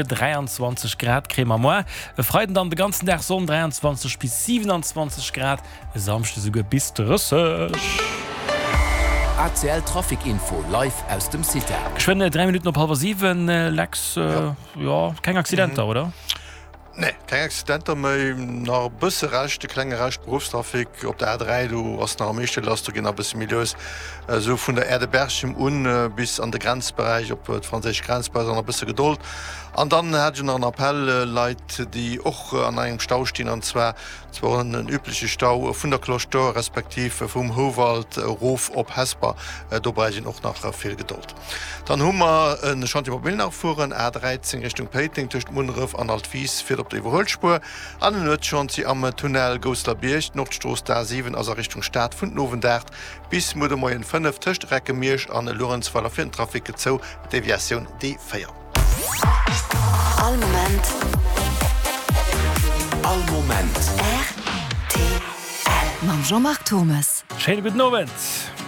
23 Grad kréie mer moar. E Freiden dann de ganzen Dag Sonn, 23 bis 27 Grad, e Samschde souguer bis 30. ACL Trafic Info live aus dem CITA. Geschwënn 3 Minutten op hallwer 7, Lex, jo, keng Accidenter, oder? Nee, keng Accidenter méi. Nach e bësse Rescht, e klenge Rescht Beruffstrafic op der A3, do ass nach am meeschte lass, do geet nach e bësse méi lues, esou vun der Aire de Berchem un bis an de Grenzberäich, op d'franséisch Grenz, brauch nach e bësse Gedold. An dann hat ech nach en Appell, Leit, déi och an engem Stau stinn, an zwar zwar en übleche Stau vun der Cloche d'Or respektiv vum Houwald erof op Hesper, do brauch een och nach vill Gedold. Dann hu mer e Chantier op Milnach fueren, A 13 Richtung Péiteng tëscht Munneref an Altwis fiert op der Iwwerhuelspuer an en Nuetschantier am Tunnel Gousselerbierg. D'Nordstrooss, d'A 7, ass a Richtung Stad vun den Owend 8 bis muer de Moien 5 tëscht Recke-Miersch an Luerenzweiler fir den Trafic zou, Deviatioun D4. All Moment. All Moment. Rtl. Mam Jean-Marc Thommes. Schéine gudden Owend.